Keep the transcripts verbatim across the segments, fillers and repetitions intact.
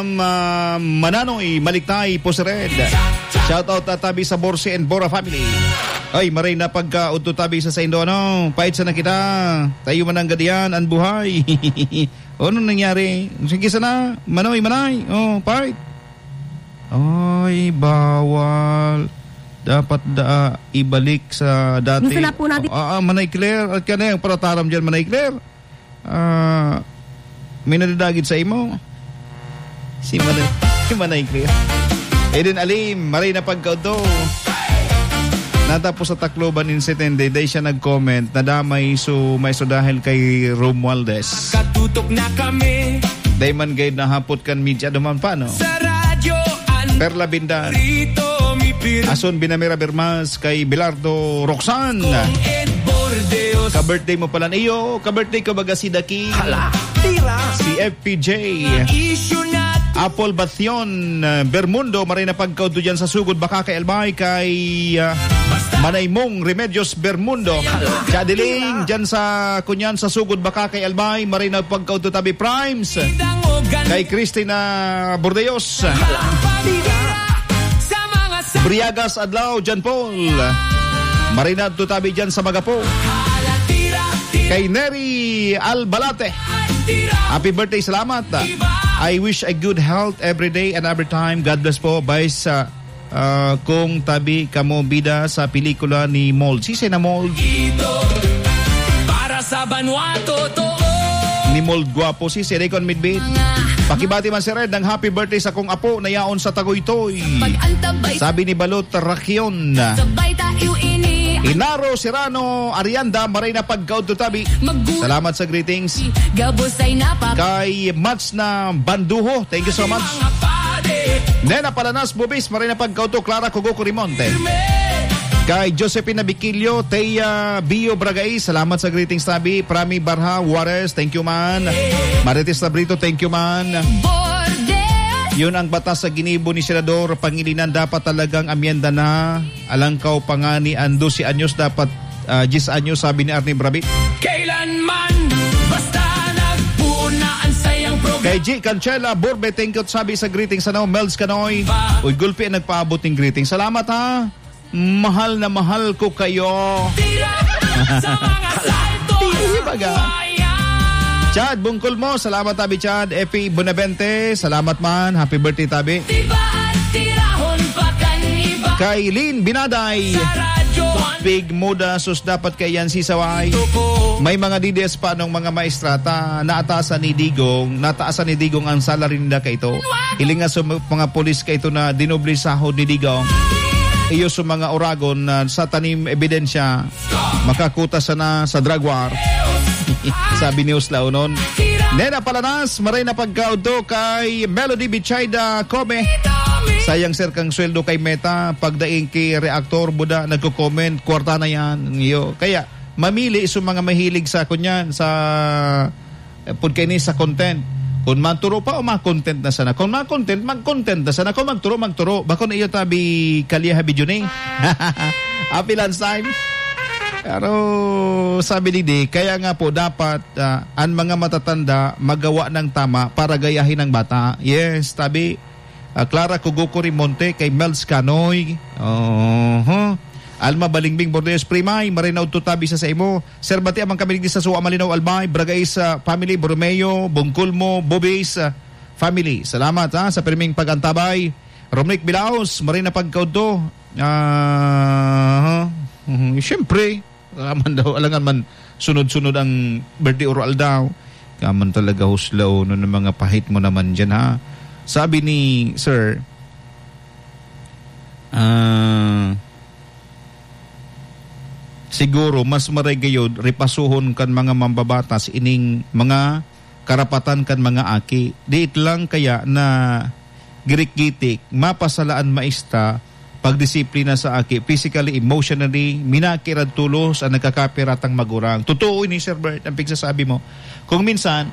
Um, ah, Mananoy Maliktay, Pusired. Shout out, ah, tabi sa Borsi and Bora family. Ay, maray na pagkaudto tabi sa saindo, ano? Pait sana kita. Tayo man ang gadiyan, ang buhay. Ano nangyari? Sige sana, Manoy, Manay. Oh, pait. Ay, bawal. Dapat da, ibalik sa dati. Gusto na po natin. Ah, ah, Manay Claire. At ka na yung parataram dyan, Manay Claire. Ah, may nadadagit sa imo? Si Manay, si Manay Claire. Eden Alim, maray na pagkaudto. Natapos sa Tacloban incident, dai siya nag-comment, nadamay so, may so dahil kay Romualdez. Katutok na kami. Dai man gayud nahapot kan media duman pa, no? Sa radyo, an- Perla Bindar. Rito, mi pir- Ason Binamira Bermas, kay Bilardo Roxanne. Kong Ed Bordeos. Ka-birthday mo pala niyo, ka-birthday ko baga si Daki. Hala, tira. Si F P J. Isyu na. Apple Bathion, uh, Bermundo, maray na pagkaudto dyan sa Sugod Baka kay Albay, kay, uh, Manay Mong Remedios Bermundo. Hala. Chadiling, dyan sa Kunyan sa Sugod Baka kay Albay, maray na pagkaudto tabi Primes. Kay Christina Bordeos. Hala, tira. Briagas Adlaw, John Paul. Maray na tabi dyan sa Magapo. Kay Neri Albalate. Happy birthday, salamat. I wish a good health every day and every time. God bless po. Bye sa, ah, kung tabi kamo bida sa pelikula ni Mold. Sisay na Mold? Para sa banwa, totoo. Ni Mold Guapo, si Sir Econ Midbit. Pakibati man si Red ng happy birthday sa kong apo na yaon sa Tagoytoy. Sabi ni Balot Rakion. Sabay tayo ini. Inaro Serrano Arianda, maray na pagkaudto tabi. Salamat sa greetings. Gabos ay napa- Kay Mats na Banduho, thank you so much. Nena Palanas Bubis, maray na pagkaudto, Clara Kugo Curimonte. Kay Josephine Nabiquillo, Thea Bio Bragais, salamat sa greetings tabi. Prami Barha Juarez, thank you man. Marites Labrito, thank you man. Yun ang batas sa ginibo ni Senador Pangilinan, dapat talagang amyenda na. Alangkaw pa nga ni ang dose anyos, dapat, ah, diyes anyos, sabi ni Arnie Brabi. Kailanman, basta nagpuon na ang sayang programa. Kay G Cancela Borbe, thank you, sabi sa greetings, ano, Mel's Canoy. Uy, gulpi ang nagpaabot ng greetings. Salamat, ha. Mahal na mahal ko kayo. Tira sa mga salto. Tira, baga. Chad, bungkol mo. Salamat, tabi, Chad. Epi Bonavente, salamat man. Happy birthday, tabi. Diba at tirahon pa kan iba? Kay Lynn Binaday. Sa radyo, Pig Muda, sus, dapat kaiyan si Saway. May mga D D S pa nung mga maestrata, naatasan ni Digong, nataasan ni Digong ang salary nila kaito. Hiling nga sa mga pulis kaito na dinoble sahod ni Digong. Iyo sa mga oragon na sa tanim ebidensya, makakuta sana sa drug war. Sabi ni Usla Unon. Nena Palanas, maray na pagkaudto kay Melody Bichayda Come. Sayang, sir, kang sweldo kay Meta, pagdaing kay reactor, buda, nagko-comment, kwarta na yan. Iyo. Kaya, mamili sa mga mahilig sa kunyan, sa, eh, pud kaini sa content. Kung magturo pa o mag-content na sana. Kung mag-content, mag-content na sana. Kung magturo, magturo. Bakon iyo tabi kalye ha video ni. Happy lunch time. Pero sabi ni Di, kaya nga po dapat, ah, ang mga matatanda magawa ng tama para gayahin ang bata. Yes, tabi, ah, Clara Kuguko Rimonte, kay Mel's Canoy. Oho. Alma Balingbing Bordeos Primay, maray na udto tabi sa saimo. Sir, bati amang kami digdi sa Suwa, Malinaw, Albay, Bragais, ah, family, Borromeo, Bungkulmo, Bobis, ah, family. Salamat, ha, sa pirming pag-antabay. Romnick Bilaos, maray na pagkaudto. Ah, mhm, siyempre, alangan daw, alangan man sunod-sunod ang birthday or aldaw. Kaman talaga, Huslao, no, ng mga pahit mo naman dyan, ha? Sabi ni Sir, ah, siguro, mas maray gayod, repasuhon kan mga mambabatas ining mga karapatan kan mga aki. Diit lang kaya na girikgitik, mapasalaan maista, pagdisiplina sa aki, physically, emotionally, minakirad tulos ang nagkakapiratang magurang. Totoo ini, Sir Bert, ang pigsasabi mo. Kung minsan,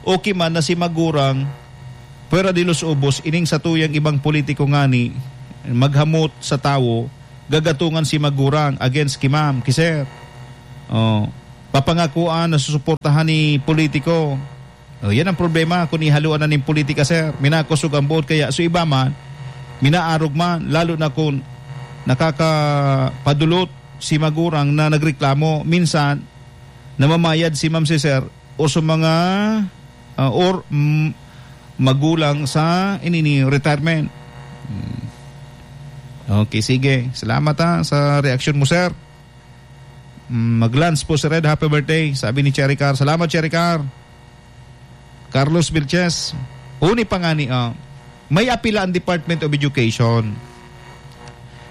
okay man na si magurang, pwera de los ubos, ining satuyang ibang politiko ngani, maghamot sa tawo, gagatungan si magurang against ki ma'am, ki sir. Oh, papangakuan na susuportahan ni politiko. O, yan ang problema kun ihaluan na nin politika, sir. Minakosog ang boot, kaya so iba man, minaarog man, lalo na kun nakakapadulot si magurang na nagreklamo. Minsan, namamayad si ma'am si sir o sa mga, ah, or, mm, magulang sa inini retirement. Hmm. Okay, sige. Salamat, ha, sa reaksyon mo, sir. Mm, mag-lunch po si Red, happy birthday, sabi ni Cherry Car. Salamat, Cherry Car. Carlos Vilches, uni pa ngani, ah, may apila ang Department of Education,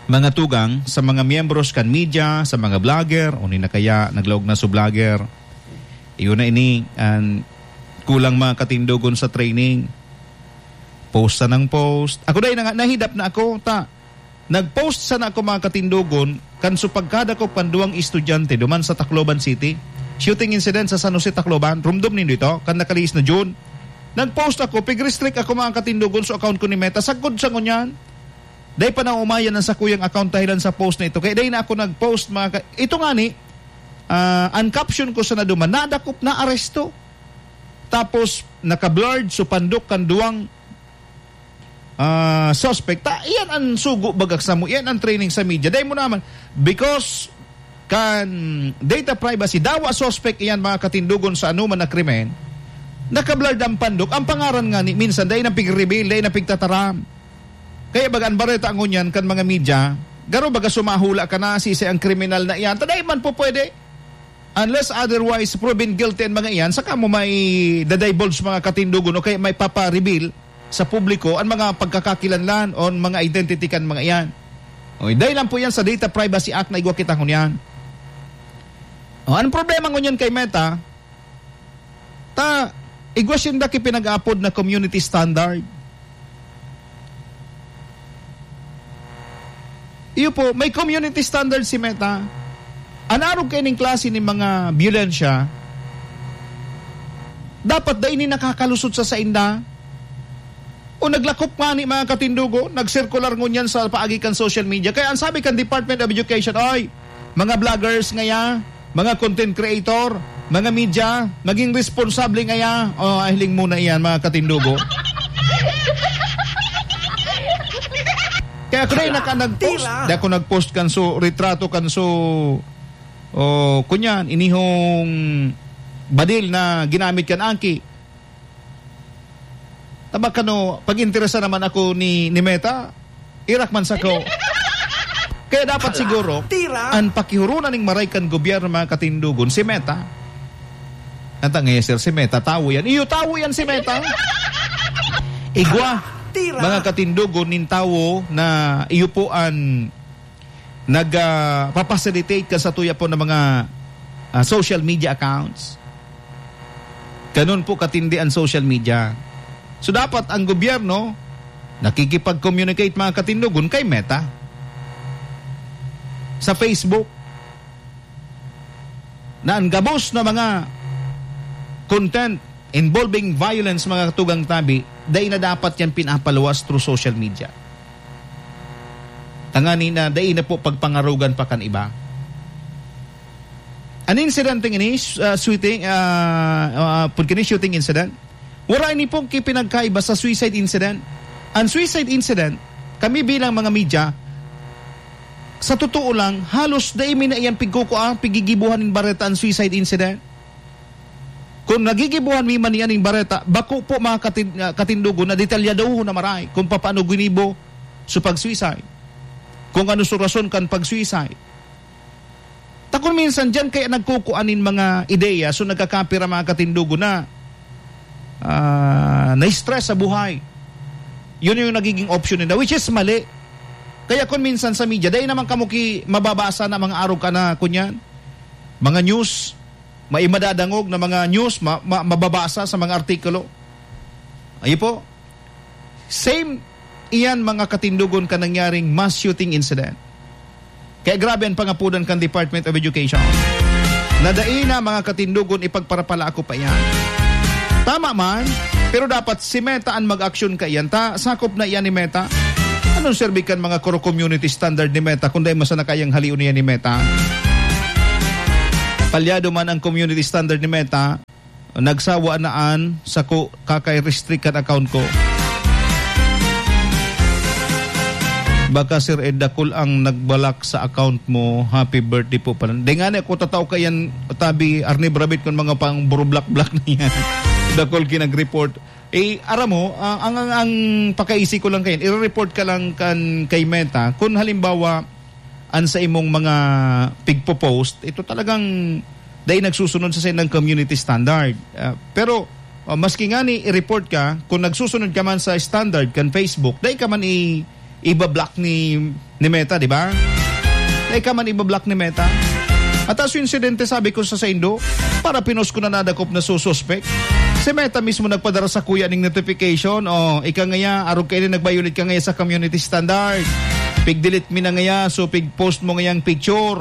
mga tugang, sa mga miyembros kan media, sa mga vlogger, uni na kaya naglaog na sa vlogger. Iyon na ini, an kulang mga katindogon sa training. Post sa nang post. Ako dai na nga, nahidap na ako, ta. Nag-post sana ako, mga katindogon, kan supagkadakop kan duwang estudyante duman sa Tacloban City. Shooting incident sa San Jose, Tacloban. Rumdom nindo ito? Kan nakaliis na June. Nag-post ako, pig-restrict ako, mga katindogon, sa account ko ni Meta. Sagkod sa ngunyan, dai pa naumayan ang sakuyang account dahilan sa post na ito. Kaya dai na ako nag-post, mga ka-, ito nga ni, ah, ang caption ko sana duman, "Nadakop, naaresto." Tapos, naka-blurred, so pandok kan duwang ah, suspect, ta, iyan ang sugo bagak samo, iyan ang training sa media. Dai mo naman, because kan data privacy, dawa suspect iyan, mga katindogon, sa anoman na krimen, nakablurred ang pandok, ang pangaran nga ni, minsan, dai na pig-reveal, dai na pigtataram. Kaya baga ang bareta ngunyan kan mga media, garo baga sumahula ka na, sisay ang kriminal na iyan, ta dai man po pwede. Unless otherwise proven guilty an mga iyan, saka mo may dadivulge mga katindogon o kaya may papa-reveal sa publiko an mga pagkakakilanlan o mga identity kan mga iyan. O, dahil lang po yan sa Data Privacy Act na igwa kita ngunyan. O, anong problema ngunyan kay Meta? Ta, igwa sinda ki pinag-apod na community standard. Iyo po, may community standard si Meta. An arog kaining klase nin mga biyolensya, dapat dai ni nakakalusot sa sainda. O naglakop ngani, mga katindogon, nagsirkular ngunyan sa paagi kan social media. Kaya ang sabi kan Department of Education, "Oy, mga vloggers ngaya, mga content creator, mga media, maging responsable ngaya." O, ah, hiling muna iyan, mga katindogon. Kaya ako na yung naka-, nag-post. Tira. Di ako nag-post kan so, retrato kan so, o, kunyan, inihong badil na ginamit kan Angki. Taba kano, pag-interesa naman ako ni, ni Meta, irak man sa ko. Kaya dapat siguro, Tira. Ang pakihurunan ning maray kan gobyerno, mga katindogon, si Meta. Anta nga, sir, si Meta, tawo yan. Iyo, tawo yan si Meta. Igwa, Tira. Mga katindogon, nin tawo na iyo po an nag, ah, papacilitate ka sa tuya po ng mga, ah, social media accounts. Ganun po katindi ang social media. So, dapat ang gobyerno nakikipag-communicate, mga katindogon, kay Meta sa Facebook na ang gabos na mga content involving violence, mga katugang tabi, dai na dapat yan pinapaluwas through social media. Tangani na dai na po pagpangarugan pa kan iba. An insidente ini, uh, shooting, uh, uh, pud kini shooting incident, wala ini pong kipinagkaiba sa suicide incident. An suicide incident, kami bilang mga media, sa totoo lang, halos dai mi na iyan pigkukua, pigigibuhan nin bareta an suicide incident. Kung nagigibuhan mi man iyan nin bareta, bako po, mga katin-, ah, katindogon, na detalyadohon na maray kung papaano ginibo sa pag-suicide, kung ano sa rason kan pag-suicide. Ta kun minsan diyan kaya nagkukuan nin mga ideya, so nagkakapira, mga katindogon, na, ah, na-stress sa buhay. Yun yung nagiging option nila, which is mali. Kaya kun minsan sa media, dahil naman kamo ki mababasa na mga arog ka na, kunyan, mga news, may madadangog na mga news, ma-, ma-, mababasa sa mga artikulo. Ayo po. Same iyan, mga katindogon, kan nangyaring mass shooting incident. Kaya grabe ang pangapudan kan Department of Education. Na dai na, mga katindogon, ipagparapala ako pa iyan. Tama man, pero dapat si Meta ang mag-aksyon kaiyan. Ta, sakop na iyan ni Meta. Anong serbi kan mga koro community standard ni Meta kung dai masana kayang halion niya ni Meta? Palyado man ang community standard ni Meta, Nagsawa na an sako, kakay restrict kan account ko. Baka, Sir Ed, dakul ang nagbalak sa account mo. Happy birthday po pala. Di nga na ako tatao kayan, tabi, Arnie Brabit, kung mga pang burublak-blak na yan. Dakul kinag-report. Eh, aram mo, ah, ang, ang, ang pakaisi ko lang kayan, i-report ka lang kan, kay Meta. Kung halimbawa, an sa imong mga pigpo-post, ito talagang dai nagsusunod sa saindang community standard. Ah, pero, ah, maski ngani i-report ka, kung nagsusunod ka man sa standard kan Facebook, dai ka man i-, iba-block ni, ni Meta, di ba? Dai ka man iba-block ni Meta. At as insidente, sabi ko sa saindo, para pinos ko na nadakop na sususpek. Si Meta mismo nagpadara sa kuya ning notification. O, ika ngaya, arog kaini nag-violate ka ngaya sa community standard. Pig-delete mi na ngaya, so pig-post mo ngayang picture.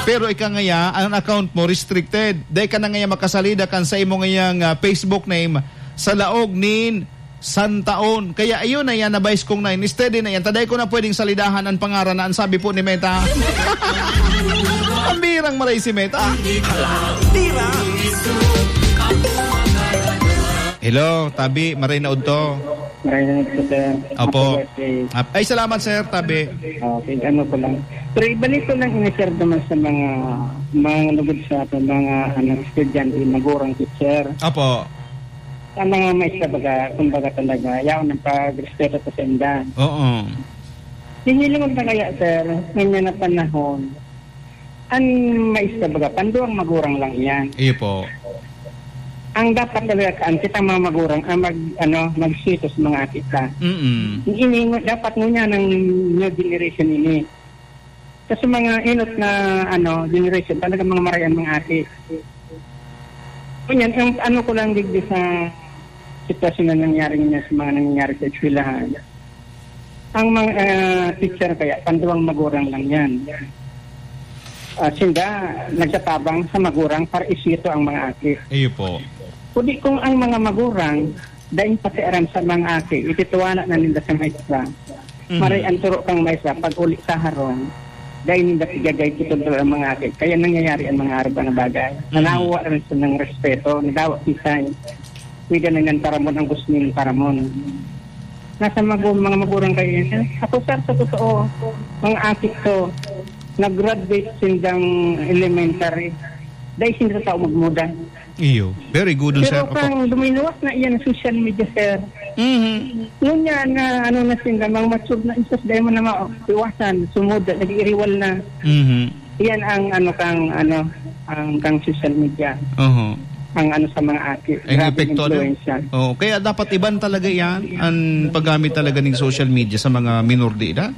Pero ika ngaya, ang account mo restricted. Dai ka na ngaya makasalida kan sa imo ngayang, ah, Facebook name sa laog nin santaon. Kaya ayun na yan, na-base kong na, steady na yan. Taday ko na pwedeng salidahan ang pangaran na ang sabi po ni Meta. Ang birang maray si Meta. Hello, tabi, maray na udto. Maray na udto, sir. Opo. Happy birthday. Ap-, ay, salamat, sir, tabi. Okay, ano ko lang. Pero ibalik ko lang ini, sir, naman sa mga, mga lugod sa ating mga, ano, estudyante, magurang, teacher. Opo. Sa mga maestra, baga, kumbaga talaga, yaon ang pagrespeto ko sa inda. Oo. Hinilingon na kaya, sir, ngunyan na panahon, ang maestra, baga, panduang magurang lang iyan. Iyo po. Ang dapat talaga, kaan, kitang mga magurang, ang mag, ano, magsweto sa mga aki ta. Mm-mm. Hinihingo, dapat ngunyan ang new generation ini. Kasi mga inot na, ano, generation, talaga mga marayan, mga aki. Ngunyan, ang ano ko lang digdi sa sitwasyon na nangyari niya sa mga nangyayari sa eskwelahan. Ang mga, ah, teacher kaya, panduwang magurang lang yan. Ah, sinda, nagtatabang sa magurang para isito ang mga aki. Iyo po. Kundi kung ang mga magurang, daing pakiaram sa mga aki, ititiwala na ninda sa maestra. Mhm. Maray ang turo kang maestra, pag uli sa harong, dai ninda pigagay kitod ang mga aki. Kaya nangyayari ang mga arog na bagay. Mhm. Nanawa rin sa ng respeto, nadawa kisay. Pwede na niyang taramon ang gusto niyang taramon. Nasa magu-, mga magurang kayo yan. Ako, sir, sa totoo, mga aki ko, nag-graduate sindang elementary. Dai sinda tao magmuda. Iyo. Very good, sir. Pero Opo. Kang luminuwas na iyan ang social media, sir. Mhm. Ngunyan na, ano na sinda, mga matured na isas, dai mo na maiwasan, sumud, nag-iiriwal na. Mhm. Iyan ang, ano, kang, ano, ang kang social media. Oho. Ang, ano, sa mga aki. Ang Grabeng epekto, ano? Impluwensya. Oo, kaya dapat iban talaga iyan, ang paggamit talaga ning social media sa mga minor de edad.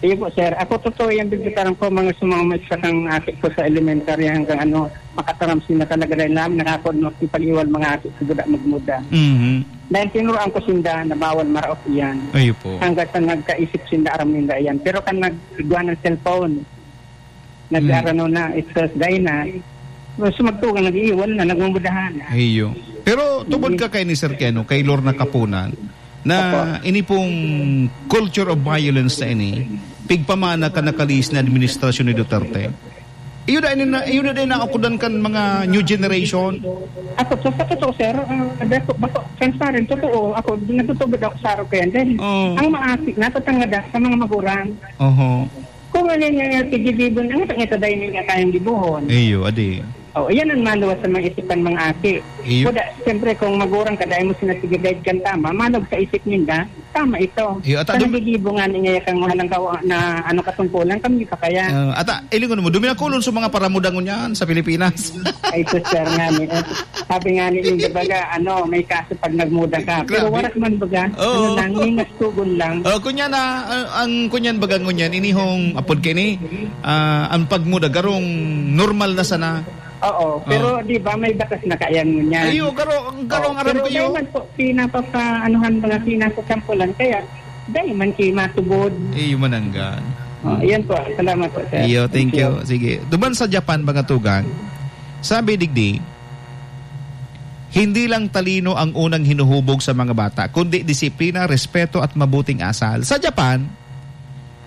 Iyo po, sir. Ako, totoo yan, bibitaran ko, mga sa mga maestra kang aki ko sa elementary hanggang, ano, makataram sila talaga dahil namin nakakod makipag-iwal mga aki ko, buda magmuda. Mhm. Dahil tinuruan ko sinda na bawal maraot iyan. Iyo po. Hanggang sa nagkaisip sinda, aram ninda iyan. Pero kan nag-, igwa ng cellphone, nag-, Mm. arano na, stress dahil na, so magtugang, nag-iiwal na, nagmumudahan na. Iyo. Pero tubod Mm. ka kay ni Sir Keno, kay Lorna Kapunan, na Opo. ini pong culture of violence na ini, pigpamana kan nakalihis na administrasyon ni Duterte. Iyo na ini na, iyo na din naakudan kan mga new generation. Ako, sa, sa totoo, sir, ah, dako, bako, transparent, totoo. Ako, natutubod ako sa araw ko yan. Dahil Oo. ang mga aki, natatangada sa mga magurang. Oho. Kung ano nga, nga, tigibibon, ang ito, ito dahil nga kayang gibuhon. Iyo, adi. Oh, iyan ang maluwas sa mga isipan mga aki. Iyo. Kuda, siyempre, kung magurang ka, dahil mo sinasigagayad kang tama, manog sa isip ninda, tama ito. Iyo, at Sa adum- nagigibo nga niya kang walang kawa-, na ano katungkulan, kami pa kaya? Ah, ata, ilingon mo, duminakulon sa mga paramudangon yan sa Pilipinas. Ay, sus, sir, nga ni, eh, sabi nga ni, yung baga, ano, may kaso pag nagmuda ka. Pero Grabe. Warak man baga, Oo. ano lang, ningas tugon lang. Oh, kunya na, ah, ang kunyan baga ngunyan, inihong apod kini, ah, ang pagmuda, garong normal na sana. Oo, pero Oo. di ba may batas na kaya ngunyan? Ay, oh, garo-, ang garong Oo, aram pero ko yun. Dahil man po, pinapapa-, anuhan mga pinasasampulan, kaya dahil man kayo matubod. Eh, yung mananggan. Oh, yan po. Salamat po, sir. Iyo, thank Thank you. you. Sige. Duman sa Japan, mga tugang, sabi digdi, "Hindi lang talino ang unang hinuhubog sa mga bata, kundi disiplina, respeto at mabuting asal." Sa Japan,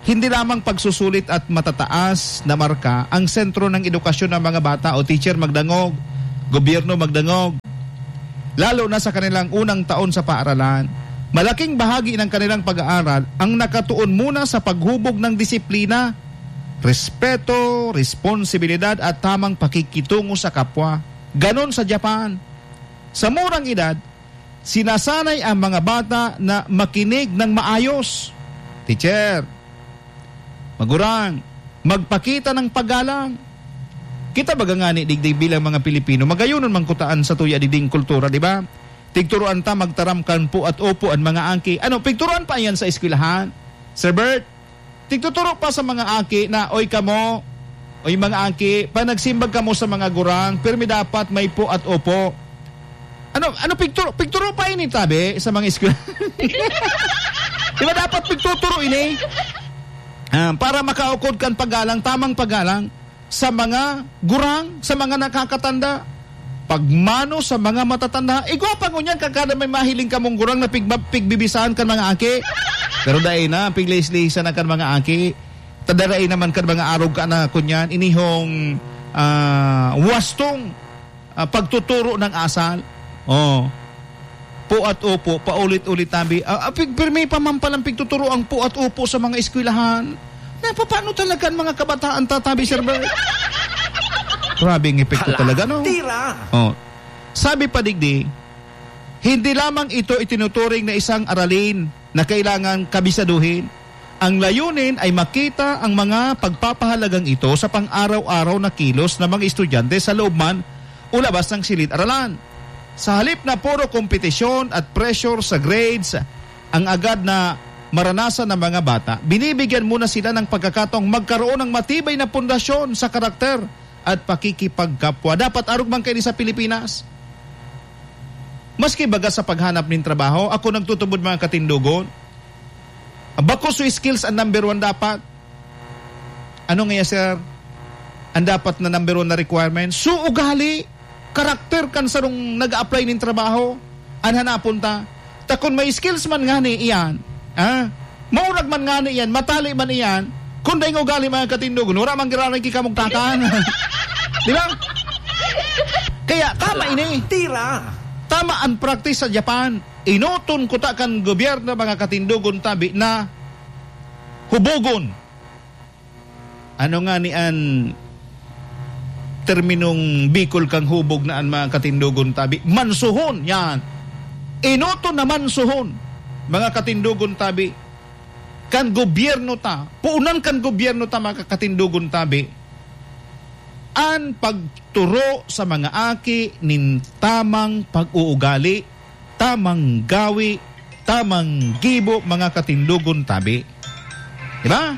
hindi lamang pagsusulit at matataas na marka ang sentro ng edukasyon ng mga bata o teacher magdangog, gobyerno magdangog. lalo na sa kanilang unang taon sa paaralan. Malaking bahagi ng kanilang pag-aaral ang nakatuon muna sa paghubog ng disiplina, respeto, responsibilidad at tamang pakikitungo sa kapwa. Ganon sa Japan. Sa murang edad, sinasanay ang mga bata na makinig ng maayos. Teacher, magurang, magpakita ng paggalang. Kita baga ngani digdi bilang mga Pilipino, magayonon man kutaan sa tuya digding kultura, di ba? Tigturuan ta magtaram kan po at opo an mga aki. Ano, pigturuan pa yan sa eskwelahan? Sir Bert, tigtuturo pa sa mga aki na, "Oy kamo, oy mga aki, pag nagsimbag kamo sa mga gurang, pirmi dapat may po at opo." Ano, ano pigturo, pigturo pa ini tabi sa mga eskwela? Di ba dapat pigtuturo ini? Ah, para makaukod kan paggalang, tamang paggalang sa mga gurang, sa mga nakakatanda. Pagmano sa mga matatanda. Igwa pa ngunyan, kakada may mahiling kamong gurang na pigba-, pigbibisahan kan mga aki. Pero dai na, piglihis-lihisan na kan mga aki. Tadarai naman kan mga arog ka na, kunyan, inihong, ah, wastong, ah, pagtuturo ng asal. Oh. Po at opo, paulit-ulit tabi. Ah, ah, pig-, pirmi pa man palang pigtuturo ang po at opo sa mga eskwelahan. Napapano talaga ang mga kabataan tatabi, Sir Bert? Grabe ang epekto Hala, talaga, no? Tira! Oh. Sabi pa digdi, hindi lamang ito itinuturing na isang aralin na kailangan kabisaduhin. Ang layunin ay makita ang mga pagpapahalagang ito sa pang-araw-araw na kilos ng mga estudyante sa loob man o labas ng silid-aralan. Sa halip na puro kompetisyon at pressure sa grades ang agad na maranasan ng mga bata, binibigyan muna sila ng pagkakataong magkaroon ng matibay na pundasyon sa karakter at pakikipagkapwa. Dapat arog man kaini sa Pilipinas. Maski baga sa paghanap nin trabaho, ako nagtutubod, mga katindogon. Bako so skills ang number one dapat. Ano nga, sir? Ang dapat na number one na requirement? So, ugali, karakter kan sarong nag-a-apply nin trabaho, an hanapon ta. Ta kun may skills man ngani iyan, ha? Maurag man ngani iyan, matali man iyan, kun daing ugali, mga katindogon, wala man giraray ki kamugtakan. Di ba? Kaya tama ini. Tira. Tama ang practice sa Japan. Inoton kuta kan gobyerno, mga katindogon tabi, na hubogon. Ano nga ni an terminong Bicol kang hubog na an mga katindogon tabi? Mansuhon, yan. Inoton na mansuhon, mga katindogon tabi, kan gobyerno ta, puunan kan gobyerno ta, mga katindogon tabi, an pagturo sa mga aki nin tamang pag-uugali, tamang gawi, tamang gibo, mga katindogon tabi. Di ba?